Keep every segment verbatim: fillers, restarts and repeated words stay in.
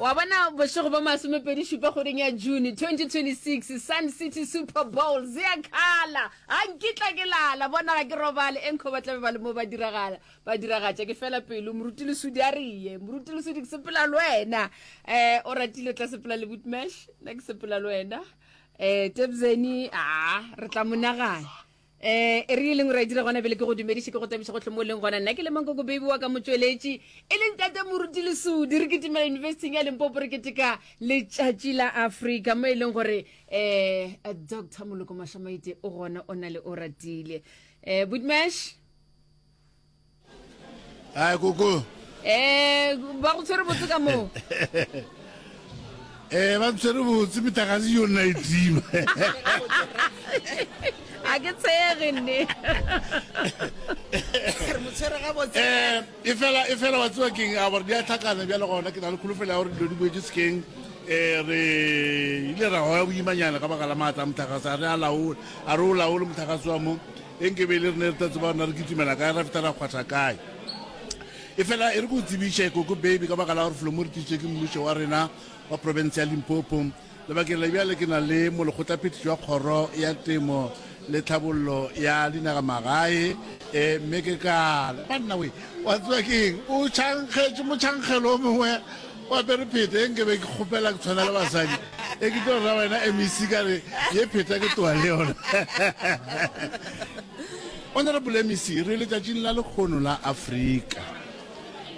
Wa bona bošego ba masomepedi šupa kgweding ya June twenty twenty-six, Sun City Super Bowl ziyakhala. Ga nkitla ke lala, bona ga ke robale, enkho ba tlabe ba le mo ba diragala, ba diragatša. Ke fela pelo, Moruti Lesudi a re ye, Moruti Lesudi ke sepela le wena. Eh, o ratile tla sepela le Bootmash, nna ke sepela le wena. Eh, Tebzeni, ah, re tla mo nagana. Eh, e re e leng ra e dira gona bjale ke go dumediše, ke go tabiše gohle mo o leng gona. Nna ke le Mankoko Baby wa ka motšweletši, e leng Tate Moruti Lesudi. Re kitimela Yunibesithing ya Limpopo, re keteka letšatši la Afrika, mo e leng gore eh Doctor Moloko Mashamaite o gona, o na le o ratile. Eh, Bootmash? Ai, koko. Eh, ba go tshwere botse ka moo? Eh, ba ntshwere botse, metlakase yona e tima. A ke tshege nne. Re mo tshwere gabotse. Eh, e fela, e fela wa tseba keng, a gore di a tlhakana bjale gona, ke na le kholofelo ya gore dilo di boetse sekeng. Eh, re ile ra goya boimanyana ka baka la maatla a motlakase, a re a laole, a re o laole motlakase wa mo. E nke be e le re ne re tla tseba rena re kitimela kae, ra feta ra kgwatha kae. E fela e re ko tsebiše Koko Baby ka baka la gore felo mo re tlišitše ke mmušo wa rena wa province ya Limpopo. Lebakeng la bjale ke na le molekgotlaphethiši wa kgoro ya temo le tlhabollo ya dinagamagae, e mme ke kala banna we, wa tseba keng, o tšhankgetše motšhankgelo o mongwe o apere pheta, e nke be ke kgopela ke tshwana le basadi, e ke tlo ra wena M E C ka re ye pheta ke toa le yona. Honorable M E C, re letšatšing la lekgono la Afrika.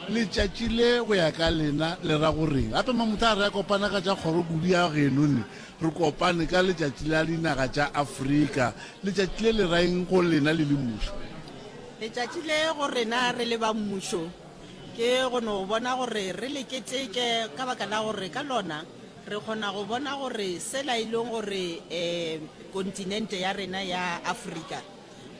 Letšatši le go ya ka lena le ra goreng? Gape mamotho a re a kopana ka tša kgoro kudu ya geno ne, re kopane ka letšatši la dinaga tša Afrika. Letšatši le le raeng go lena le le mmušo? Letšatši le go rena re le ba mmušo ke go no bona gore re le keteke ka baka la gore ka lona re kgona go bona gore sela e leng gore um kontinente ya rena ya Afrika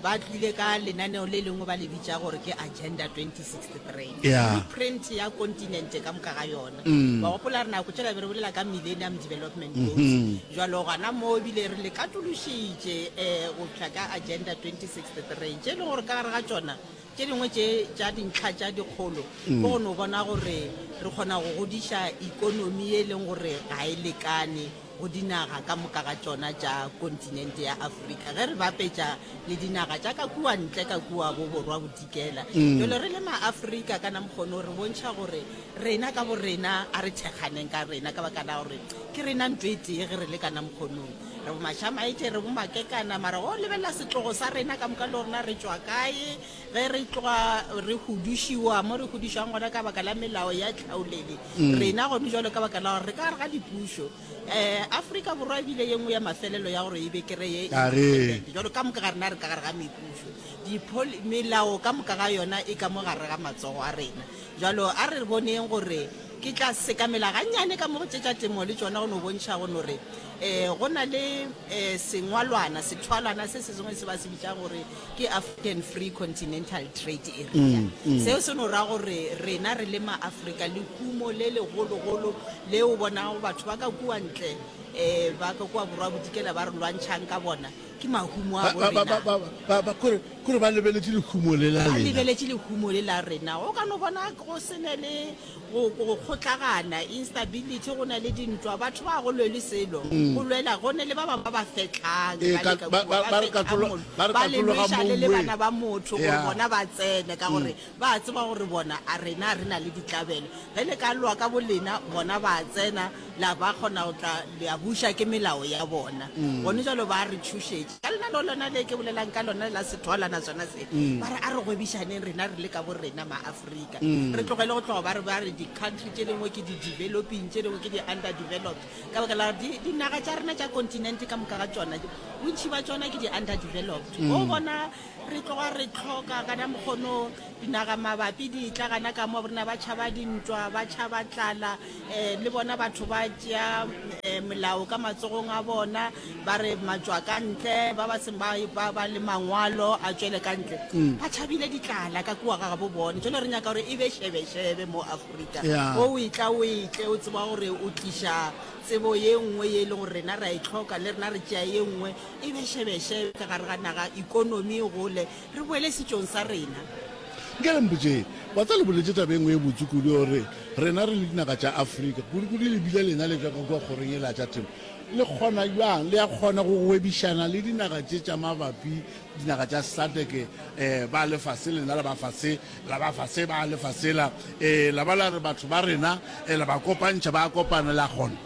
ba tlile ka lenaneo le lengwe ba le bitša gore ke Agenda twenty sixty-three. Yeah. Blueprint ya kontinente ka moka ga yona. Mm. Wa gopola re nako tšela be re bolela ka Millennium Development Goals. Mm-hmm. Jwalo gona mo ebile re le katološitše, eh, go fihla ka Agenda twenty sixty-three, tše e leng gore ka gare ga tšona tše dingwe tše tša dintlha tša dikgolo Mm. ke go no bona gore re kgona go godiša ikonomi e leng gore ga e lekane go dinaga ka moka ga tšona tša kontinente ya Afrika ge re bapetša le dinaga tša ka kua ntle ka kua bo borwa bodikela. Mm. Jwale re le maAfrika ka namkgono re bontšha gore rena ka borena a re thekganeng ka rena ka baka la gore ke rena ntho e tee ge re le ka namkgonong. Re bo Mashamaite, re bo Makekana, mara go lebelela setlogo sa rena ka moka le rona re tšwa kae, ge re tloga re hudušiwa mo re hudušwang gona ka baka la melao ya tlhaolele. Mm. Rena gone jwalo ka baka la gore re ka gare ga dipušo. Eh, Afrika Borwa ebile ye nngwe ya mafelelo ya gore e be kry-e A re. independent. Jwalo ka moka ga rena re ka gare ga mepušo. Dipoli-, melao ka moka ga yona e ka mo gare ga matsogo a rena. Jwalo a re boneng gore ke tla sekamela gannyane ka mo go tše tša temo le tšona go no bontšha go no re, eh, go na le, eh, sengwalwana, sethwalwana se se sengwe se ba se bitšang gore ke African Free Continental Trade Area. Mm, mm. Seo se no ra gore rena re le maAfrika le humo le legologolo le o bonago batho ba ka kua ntle, eh, ba ka kua borwa bodikela ba re lwantšhang ka bona, ke mahumo a Ba, ba, ba, bo rena. ba, ba, ba, kore, kore ba lebeletše lehumo le la Ba lena. lebeletše lehumo le la rena. O ka no bona go se ne le go, go kgotlagana, instability, go na le dintwa, batho ba go lwele selo, Mm. go lwela, go ne le ba bangwe ba ba fehlang, Ee, ba ka, le ka ba, kua, ba, ba ba re fehlang katlolo, mollo, ba re ba le katlolo ga lweša le le mongwe. bana ba motho gore Yeah. bona ba tsene, ka gore Mm. ba tseba gore bona a rena re na le ditlabelo. Ge le ka lwa ka bolena, bona ba tsena, la ba kgona go tla, le a buša ke melao ya bona. Mm. Gone jwalo ba re tšhošetša. Ka lenaneo lona le ke bolelang ka lona la sethwalana sona se, Mm. ba re a re gwebišaneng rena re le ka borena maAfrika. Mm. Re tlogele go tloga ba re, ba re di-country tše dingwe ke di-developing, tše dingwe ke di-underdeveloped. Ka baka la gore di-, dinaga tša rena tša kontinente ka moka ga tšona, bontši ba tšona ke di-underdeveloped. Mm. O bona re tloga re tlhoka kana mokgono dinaga mabapi di tla gana ka mo rena ba tšhaba dintwa, ba tšhaba tlala, eh, le bona batho ba tšea, eh, molao ka matsogong a bona, ba re matšwa ka ntle, ba ba seng ba, ba, ba le mangwalo a tšwele ka ntle. Mm. Ba tšhabile ditlala ka kua ga gabo bone. Jwale re nyaka gore e be šebešebe mo Afrika. Yeah. O e tla o e tle, o tseba gore o tliša tsebo ye nngwe ye e leng gore rena re a e tlhoka, le rena re tšea ye nngwe, e be šebešebe ka gare ga naga, ikonomi e gole, re boele setšong sa rena. Nke le mpotšeng, wa tseba le boletše taba e nngwe e botse kudu gore rena re le dinaga tša Afrika, kudu-kudu le bile lena le tšwa ka kua kgorong yela ya tša temo, le kgona bjang, le a kgona go gwebišana le dinaga tše tša mabapi, dinaga tša SADC, um ba lefase lena la ba fase, la ba fase ba lefase la, um la ba la re batho ba rena, um la ba kopantšha, ba kopana, le a kgona?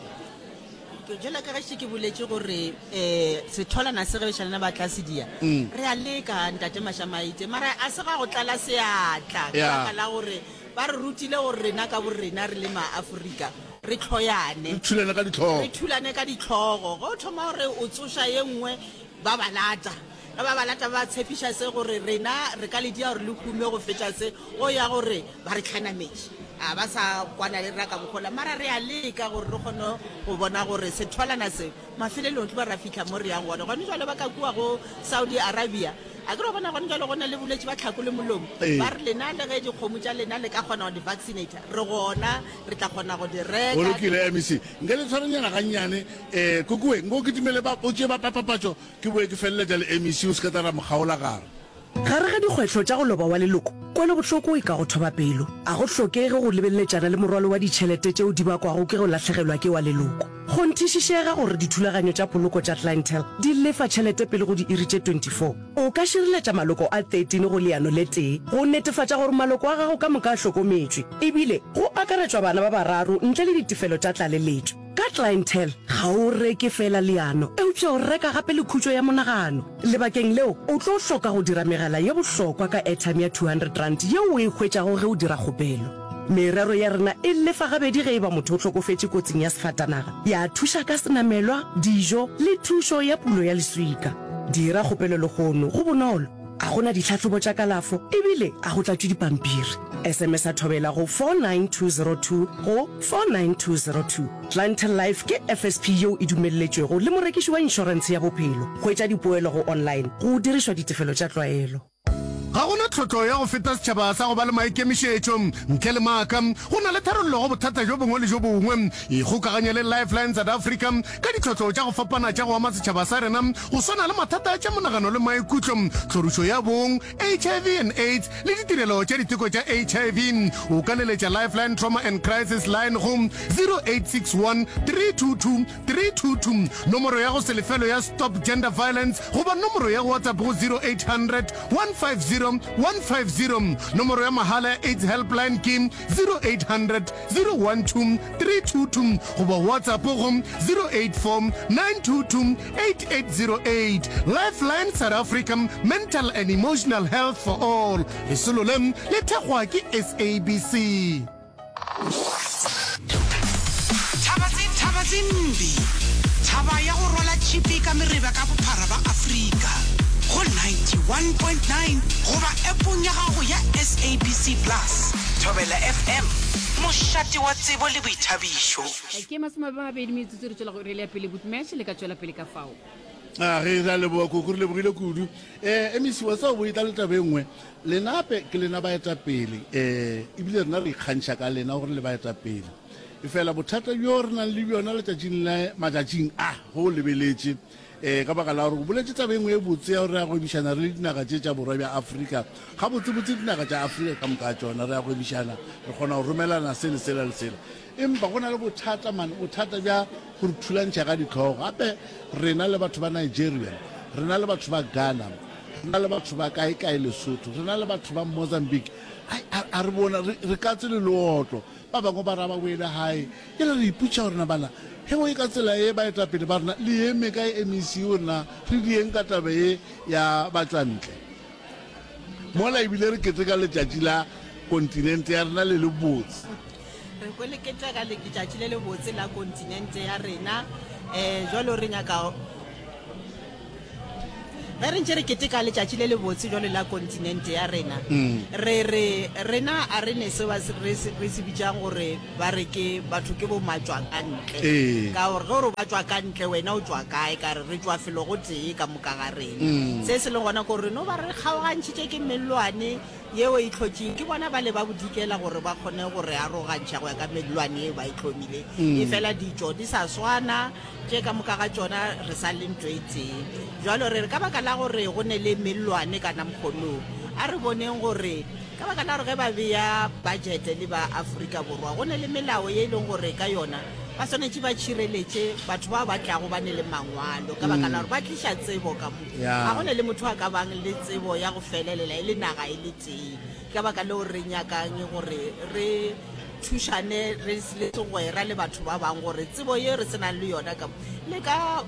Jwalo ka ge ke boletše gore um setholana se ge bešalena ba tla se dia, re a leka Ntate Mashamaite, mara a se ga go tlala seatla ka baka la gore ba re rutile gore rena ka borena re le Maafrika re hloyane. Re thulane ka dihlogo. Re thulane ka dihlogo. Ge o thoma gore o tsoša ye nngwe ba ba lata. Ge ba ba lata ba ba tshepiša se gore rena re ka le dia gore le hume go feta se, go ya gore ba re hlanametše. A ba sa kwana le rena ka mokgola, mara re a leka gore re kgone go bona gore setholana se mafelelong tlo ba ra fihla mo re yang gona. Gone jwale ba ka kua go Saudi Arabia, a ke re wa bona gone jwale go na le bolwetši ba tlhako le molomo. Ba re lena le ge dikgomo tša lena le ka kgona go di vaccinate, re gona re tla kgona go di reka. Go lokile M E C, nke le tshwarenyana gannyane. Um Kokoe, nko kitimele ba o tšee ba papapatšo ke boe ke feleletša le M E C, o se ka tla ra mo kgaola gare. Gare ga dikgwehlo tša go loba wa leloko, kwelobohloko e ka go thoba pelo. A go hlokege go lebeletšana le morwalo wa ditšhelete tšeo di bakwago ke go lahlegelwa ke wa leloko. Kgonthišišega gore dithulaganyo tša poloko tša Clientele di lefa tšhelete pele go diiri tše twenty four. O ka šireletša maloko a thirteen go leano le tee go netefatša gore maloko a gago ka moka a hlokometšwe, ebile go akaretšwa bana ba bararo ntle le ditefelo tša tlaleletšo. Ka Clientele, ga o reke feela leano, eupša o reka gape le khutšo ya monagano. Lebakeng leo, o tlo hloka go dira megala ye bohlokwa ka airtime ya two hundred rand yeo o e hwetšago ge o dira kgopelo. Merero ya rena e lefa gabedi ge e ba motho o hlokofetše kotsing ya sefatanaga, ya thuša ka senamelwa, dijo le thušo ya pulo ya leswika. Dira kgopelo lehono, go bonolo, a go na ditlhahlobo tša kalafo ebile a go tlatšwe dipampiri. S M S a thobela go four nine two zero two go four nine two zero two. Clientele Life ke F S P yeo e dumelletšwego le morekiši wa inšorentshe ya bophelo. Hwetša dipoelo go online go dirišwa ditefelo tša tlwaelo. Ga go na tlhotlo ya go feta setšhaba sa go ba le maikemišetšo. Ntle le maaka, go na le tharollo go bothata bjo bongwe le bjo bongwe. Ikgokaganye le Lifeline South Africa ka ditlhotlo tša go fapana tša go ama setšhaba sa rena, go swana le mathata a tša monagano le maikutlo, tlhorišo ya bong, H I V and AIDS le ditirelo tša diteko tša H I V. O ka leletša Lifeline Trauma and Crisis Line go zero eight six one three two two three two two, nomoro ya go se lefelo ya Stop Gender Violence goba nomoro ya WhatsApp go zero eight hundred one five zero one five zero. Nomoro ya mahala ya AIDS Helpline ke zero eight hundred zero one two three two two goba WhatsApp go zero eight four nine two two eight eight zero eight. Lifeline South Africa, mental and emotional health for all. Lesolo le le thekgwa ke S A B C. Thaba tse mbi, thaba ya go rwala tšhipi ka mereba ka bophara ba Afrika go ninety-one point nine goba appong ya gago ya S A B C Plus. Thobela F M, mošate wa tsebo le boithabišo. Ke masome a mabedi metsotso re tšwela go iri ya pele Bootmatch le ka tšwela pele ka fao. A ge ra leboga koko, re lebogile kudu. Eh, M E C wa tseba bo etla le taba e nngwe. Lena hape ke lena baetapele, eh, ebile rena re ikgantšha ka lena gore le baetapele. Efela bothata bjo re nang le bjona letšatšing la matšatšing a go lebeletše, eh, ka baka la gore o boletše taba e nngwe e botse ya gore re a gwebišana re le dinaga tše tša borwa bja Afrika. Gabotsebotse dinaga tša Afrika ka moka tšona re a gwebišana, re kgona go romelana se le sela le sela. Empa go na le bothata man, bothata bja go re thulantšha ka ditlhogo. Gape rena le batho ba Nigeria, rena le batho ba Ghana, rena le batho ba kae kae Lesotho, rena le batho ba Mozambique. Ai, a, a re bona, re, re katse le leotlo. Ba bangwe ba ra ba boele gae. Jale re ipotša gore na bana, he go e ka tsela e baetapele ba rena, le eme kae M E C gore na re dieng ka taba e ya batšwantle. Mola ebile re keteka letšatši la kontinente ya rena le le botse. Re kwele keteka letšatši le le botse la kontinente ya rena. Eh, jwalo re nyaka ge re ntše re keteka letšatši le le botse jwalo la kontinente ya rena, re re rena a re ne se ba se, re se, re se bitšang gore ba re ke batho ke bo matšwa ka ntle. Ee. Ka gore ge o re ba tšwa ka ntle, wena o tšwa kae? Ka re re tšwa felo go tee ka moka ga rena. Se se leng gona ke gore no ba re kgaogantšhitše ke mellwane yeo e tlhotšeng ke bona ba le ba bodikela gore ba kgone go re arogantšha go ya ka mellwane yeo ba e tlhomile. E fela ditšo di sa swana, tše ka moka ga tšona re sa le ntho e tee. Jwalo re re ka baka la gore go ne le mellwane ka namkgonong, a re boneng gore Ka baka la gore ge ba bea budget le ba Afrika Borwa, go ne le melao ye e leng gore ka yona ba swanetše ba tšhireletše batho bao ba tlago ba ne le mangwalo, ka baka la gore ba tliša tsebo ka mo. Ya. Ga go ne le motho a ka bang le tsebo ya go felelela e le naga e le tee. Ke ka baka leo re nyakang gore re thušane re le segwera le batho ba bangwe gore tsebo ye re se nang le yona ka mo le ka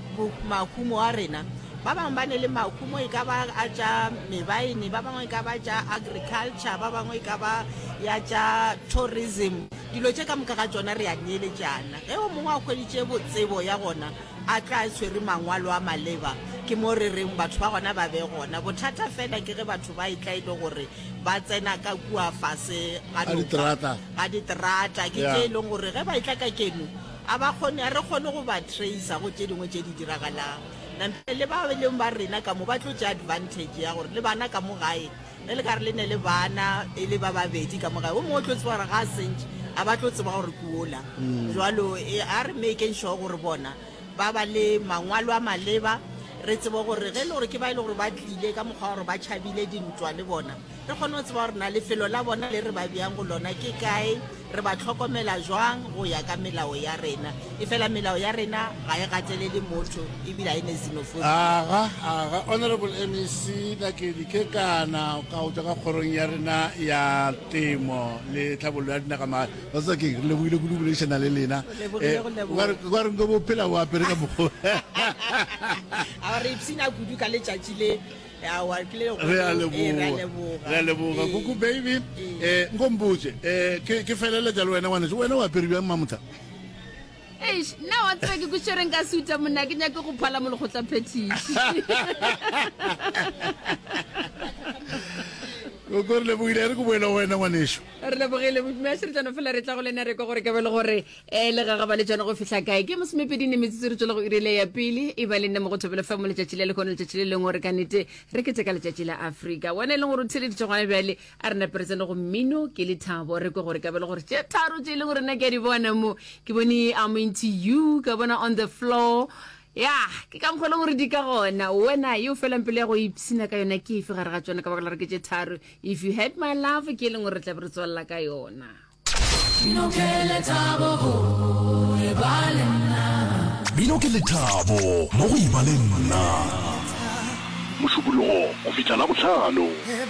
mahumo a rena. Ba bangwe ba ne le mahumo e ka ba a tša mebaene, ba bangwe e ka ba tša agriculture, ba bangwe e ka ba ya tša tourism. Dilo tše ka moka ga tšona re a neeletšana. Ge o mongwe a hweditše botsebo ya gona, a tla tshwere mangwalo a maleba, ke mo re reng batho ba gona ba be gona. Bothata fela ke ge batho ba etla e le gore ba tsena ka kua fase ga Ga noka, diterata. ga diterata. Ke Yeah. tše e leng gore ge ba etla ka keno, a ba kgone, a re kgone go ba tracer go tše dingwe tše di diragalang. Nampile le ba e leng ba rena ka mo ba tlo tšea advantage ya gore le bana ka mo gae, ge le ka re le ne le bana e le ba babedi ka mo gae, o mongwe o tlo tseba gore ga a sentše, a ba tlo tseba gore ke ola. Jwalo, e, a re making sure gore bona ba ba le mangwalo a maleba, re tsebe gore ge e le gore ke ba e le gore ba tlile ka mokgwa wa gore ba tšhabile dintwa le bona, re kgone go tseba gore na lefelo la bona le re ba beang go lona ke kae, re ba tlhokomela jwang go ya ka melao ya rena. E fela melao ya rena ga e gatelele motho ebile ga e ne xenophobia. Aga, aga, Honorable M E C Nakedi Kekana, ka go tswa ka kgorong ya rena ya temo le tlhabollo ya dinagamagae. Ba tseba keng, re lebogile kudu go boledišana le lena. Re lebogile Eh, go leboga. o ka re, o ka re nko bo phela o apere ka mokgwa. A re ipshina kudu ka letšatši le. Aowa, ke le Re a leboga. Ee, re a leboga. leboga. Re a leboga. Ee. Kuku baby, Ee. eh, nko mpotše, eh, ke, ke feleletša le wena ngwaneso, wena o apere bjang Mamotha? Eish, nna wa tseba ke kwešereng ka suta monna, ke nyake go phala molekgotla phetiši. Koko, re lebogile, re ke boele go wena ngwaneso. Re lebogile, Modimo a širetšana fela re tla go lena re kwa gore ka be le gore, eh, le gagaba le tšona go fihla kae. Ke masomepedi ne metsotso re tšwela go iri le ya pele, e ba le nna mo go Thobela F M letšatši le lehono, letšatši le lengwe gore ka nnete re keteka letšatši la Afrika. Wena e leng gore o theleditše gona bjale, a re nape re tsene go mmino ke lethabo, re kwe gore ka be le gore tše tharo tše e leng gore nna ke a di bona mo. Ke bone I'm into you, ka bona on the floor. Ya, ke ka mokgwa e leng gore di ka gona. Wena yo felang pele ya go ipshina ka yona ke efe gare ga tšona, ka baka la gore ke tše tharo. If you had my love ke e leng gore re tla be re tswalla ka yona. Mmino ke lethabo go e ba le nna. Mmino ke lethabo mo go e ba le nna. Mošupologo go fihla Labohlano.